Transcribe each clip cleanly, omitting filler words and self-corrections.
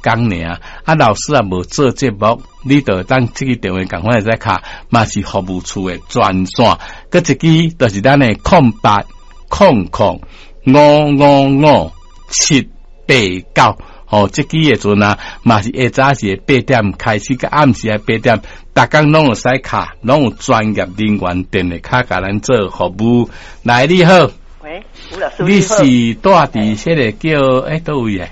工爾。啊，老師也無做節目，你就當這支電話仝款會使敲，嘛是服務處的專線。閣一支就是咱的0800555789。吼，這支的陣啊，嘛是下早時的八點開始，佮暗時的八點，逐工攏會使敲，攏有專業人員電話敲共咱做服務。來，你好。喂，吳老師。你是住佇彼个叫佗位的？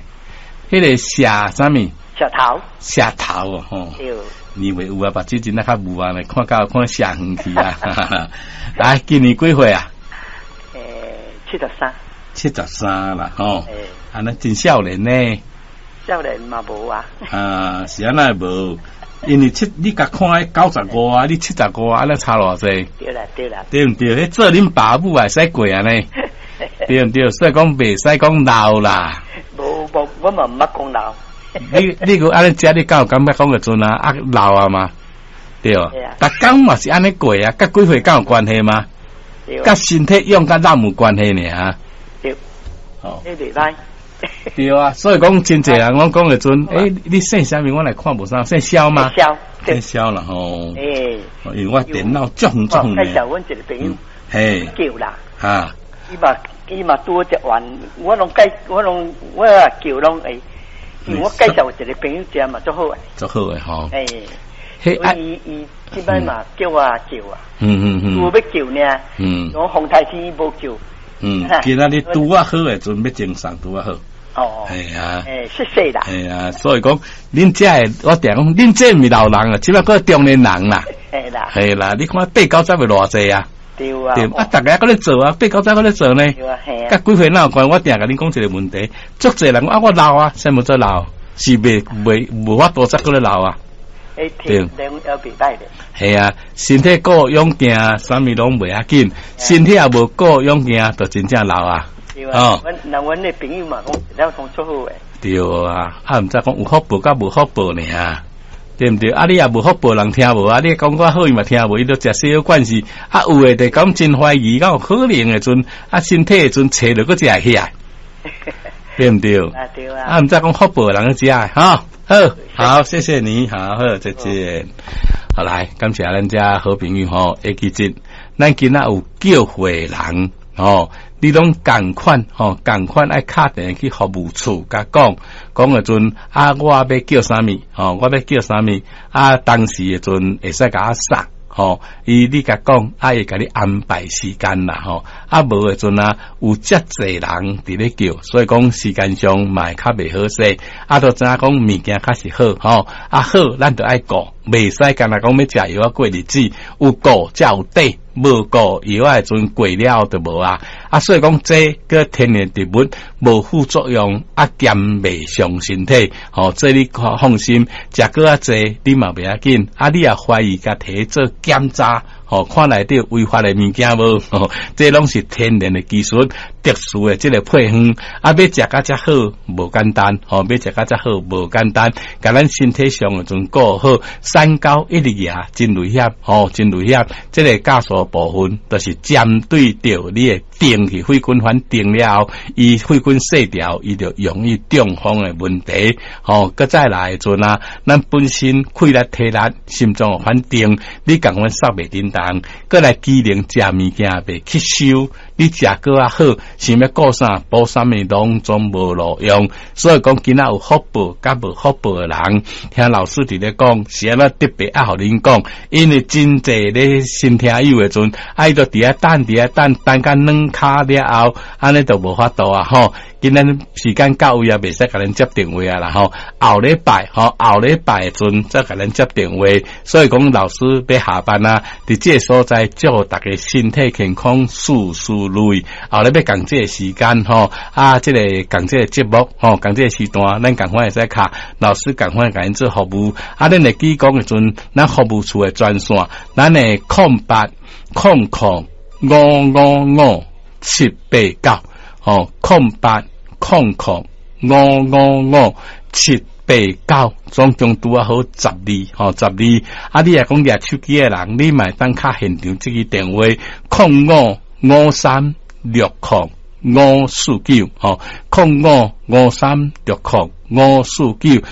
彼个謝啥物？石頭。石頭哦，吼。對。你話有啊，目睭真仔較霧啊，看到看石遠去啊。來，今年幾歲啊？73。 73啦，吼。按呢真少年呢。少年嘛無啊。啊，是按怎無？因為七，你共看95啊，你75啊，按呢差偌濟？對啦，對啦。對毋對？彼做恁爸母會使過按呢？對毋對？所以講袂使講老啦。無無，我嘛毋捌講老。你閣按呢食，你敢有感覺講的陣啊？啊老啊嘛？對。逐工嘛是按呢過啊，佮幾歲敢有關係嗎？佮身體勇佮老無關係爾。對。哦。你袂歹。對啊，所以講真濟人攏講的陣，你姓啥物？我來看無啥，姓蕭嗎？蕭。姓蕭啦吼。因為我電腦足遠足遠。介紹阮一個朋友。嘿。叫啦。啊。伊嘛拄好食完，我攏介，我攏我也叫攏會，因為我介紹一個朋友食嘛足好的。足好的吼。所以伊這擺嘛叫我叫啊。有欲叫呢。我風台天無叫。今仔日拄仔好的陣欲精神拄仔好。哦。係啊。謝謝啦。係啊，所以講，恁這的我定講，恁這毋是老人啊，這擺閣中年人啦。係啦。係啦，你看八九十會偌濟啊？對啊。對啊，逐家閣咧做啊，八九十閣咧做呢。對啊，係啊。佮幾歲哪有關？我定共恁講一個問題，足濟人講啊，我老啊，啥物做老？是袂袂無法度才閣咧老啊？對，也袂歹的。係啊，身體顧勇健，啥物攏袂要緊。身體也無顧勇健，就真正老啊。對啊。阮那阮的朋友嘛講，了講足好的。對啊，啊毋知講有福報佮無福報爾，對毋對？啊，你也無福報，人聽無啊？你講較好伊嘛聽無，伊都食西藥管是啊，有的就講真懷疑，敢有可能的陣啊，身體的陣揣著閣食會起來，對毋對？啊對啊。啊，毋知講福報的人去食的，哈，好，好，謝謝你，好好，再見。好來，感謝咱遮好朋友吼，會記得，咱今仔有叫貨人吼，你攏仝款吼，仝款愛敲電話去服務處共講，講的陣啊，我欲叫啥物吼，我欲叫啥物啊，當時的陣會使共我送。吼，伊你共講，啊，會共你安排時間啦，吼，啊，無的陣啊，有遮濟人佇咧叫，所以講時間上嘛會較袂好勢，啊，都知影講物件較是好，吼，啊好，咱就愛顧，袂使干焦講欲食藥仔過日子，有顧才有底，無顧藥仔的陣過了後就無啊，啊，所以講這閣天然植物無副作用，啊，兼袂傷身體，吼，這你放心，食閣較濟你嘛袂要緊，啊，你也懷疑共提做檢查，吼，看內底有違法的物件無？吼，這攏是天然的技術，特殊的這個配方，啊，欲食甲遮好無簡單，吼，欲食甲遮好無簡單，共咱身體上的陣顧好，三高一直舉真危險，吼，真危險。這個酵素部分，就是針對著你的定去血管反定了後，伊血管細條，伊就容易中風的問題。吼，閣再來的陣啊，咱本身氣力、體力、心臟反定，你仝款殺袂振動，閣來機能食物件袂吸收，你食閣較好，想欲顧啥補啥物攏總無路用。所以講，今仔有福報佮無福報的人，聽老師佇咧講，是按怎特別愛予恁講，因為真濟咧新聽友的陣，啊，伊就佇遐等，佇遐等，等甲軟跤了後，按呢就無法度啊吼。今仔時間到位啊，袂使共恁接電話啊啦吼。後禮拜吼，後禮拜的陣再共恁接電話。所以講，老師欲下班啊，佇這個所在祝大家身體健康，事事如意。後禮拜仝這個時間吼，啊，這個仝這個節目吼，仝這個時段，咱仝款會使敲老師仝款共𪜶做服務。啊，恁會記講的陣，咱服務處的專線，咱的0800555789，吼，0800555789，總共拄仔好十二，吼，十二。啊，你若講舉手機的人，你嘛會當敲現場這支電話，055360549，吼， 549。